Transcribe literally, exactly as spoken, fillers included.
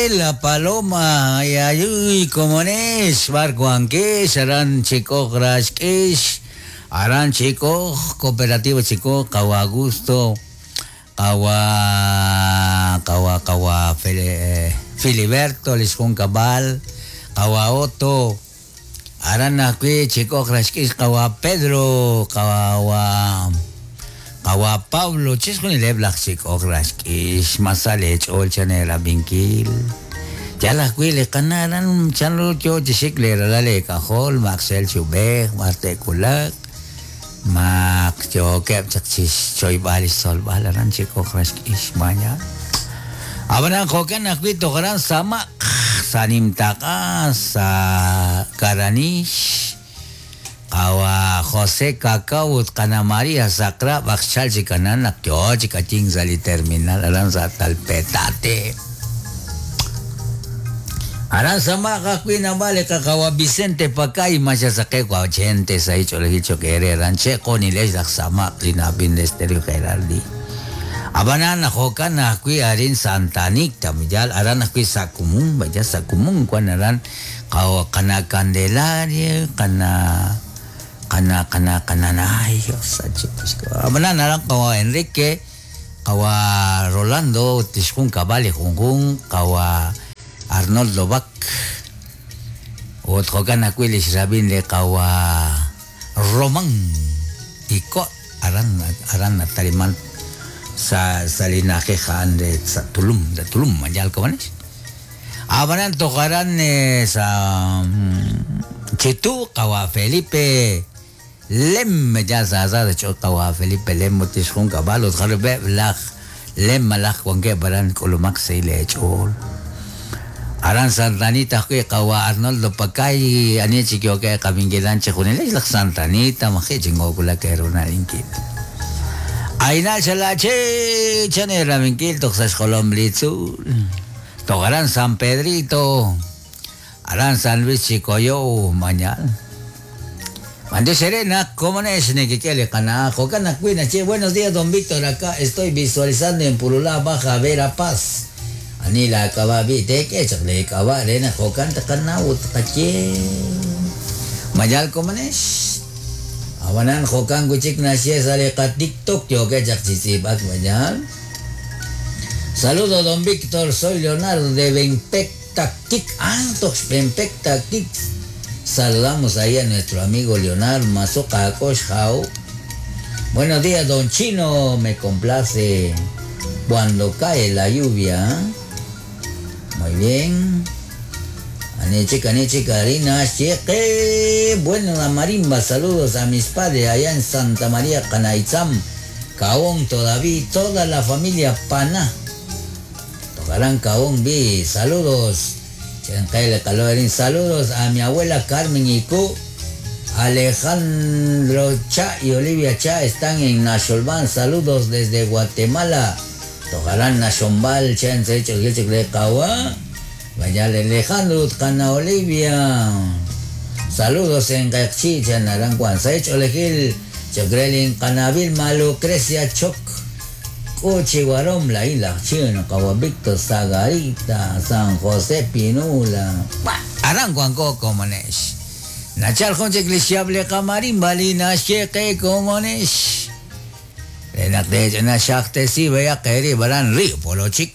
La Paloma, ay ay uy, komonex, barcuanquex, aran chico grashkesh, aran chico, cooperativo chico, kawa Augusto, kawa, kawa, kawa, Fili, Filiberto, Liscun Cabal, kawa Otto, aran akwi chico grashkesh, kawa Pedro, kawa, kawa Pablo, chiskunileb laj chik'oj raxk'ix masalech ol chanera binkil. Yalaj wi li qanaran chanru yo chixik le ralal kajol Maxel Chubej Marte Kulak mak yo keb chaq chix choyb'al solb'al aran chik'oj raxk'ix maña. Abanan jokan ajwi toqaran samaq sanimtaqa sa Karanish Kawa José Cacao Kana María Sacra Baxchal Chikanan Nakyo Chikaching Sali Terminal Aran sa Talpetate Aran sa makakwina bale kakawa Vicente Pacay Masya sa kekwa ochente sa icho lehicho kere ranche koniles laksama linabin Lesterio Gerardi Abanan hokan akwi arin Santanik tamijal aran akwi sakumung baja sakumung kwan aran kawa kana Candelaria kana kana kana kana na ay Dios abanan aran kawa Enrique kawa Rolando tishkun kabali junjun kawa Arnoldo Bak ot hokan akwi lisrabin le kawa Roman iko aran aran nataliman sa salinaje jan de sa Tulum de Tulum mayal komanes abanan tokaran eh, sa Chitu kawa Felipe Lem ya sa sa de cho kawa Felipe Lem motishun kabalo jarbe laj Lem malaj wanke baran kulumak se le chol Aran Santanita que kawa Arnoldo Pacay ani chikyo que kamingilan chejunel laj Santanita maje chingo kula que era linkit Aina chalache chanera minkil toxas jolom blitzul Tocarán San Pedrito Arán San Luis Chicoyo mañana Mande Serena, ¿cómo es? Che, buenos días, don Víctor. Acá estoy visualizando en Purulá, Baja Verapaz. Anila kababi teke chakle kaba rena jokan takana utkache. Mayal komanes. Awanan jokan guchik nasie sale ka TikTok yo que chakchisipak mayal. Saludo don Víctor, soy Leonardo de Benpec Tactic. Antox Benpec Tactic. Saludamos ahí a nuestro amigo Leonardo Mazoka Koshau. Buenos días, don Chino. Me complace cuando cae la lluvia. Muy bien. Aneche, caneche, Karina, cheque. Bueno, la marimba. Saludos a mis padres allá en Santa María, Canaitzam. Caón todavía, toda la familia Paná. Tocarán Caón, vi. Saludos. Saludos a mi abuela Carmen Icu, Alejandro Cha y Olivia Cha están en Nasholban. Saludos desde Guatemala. Tocarán Nashombal, Vaya Alejandro, Cana Olivia. Saludos en Cachi, Naranjuan, Saich Olejil, Chocrelin, Canabil, Malucrecia, Choc. Coche Guarón, la isla Chino, Cabo Víctor, Sagarita, San José, Pinula. Aranguanco, como nes. Nachal Jonche, Clisiable, Camarín, Balina, Cheque, como nes. Renate, Nachacte, si, Bea, Keri, Barán, Río, Polo Chic.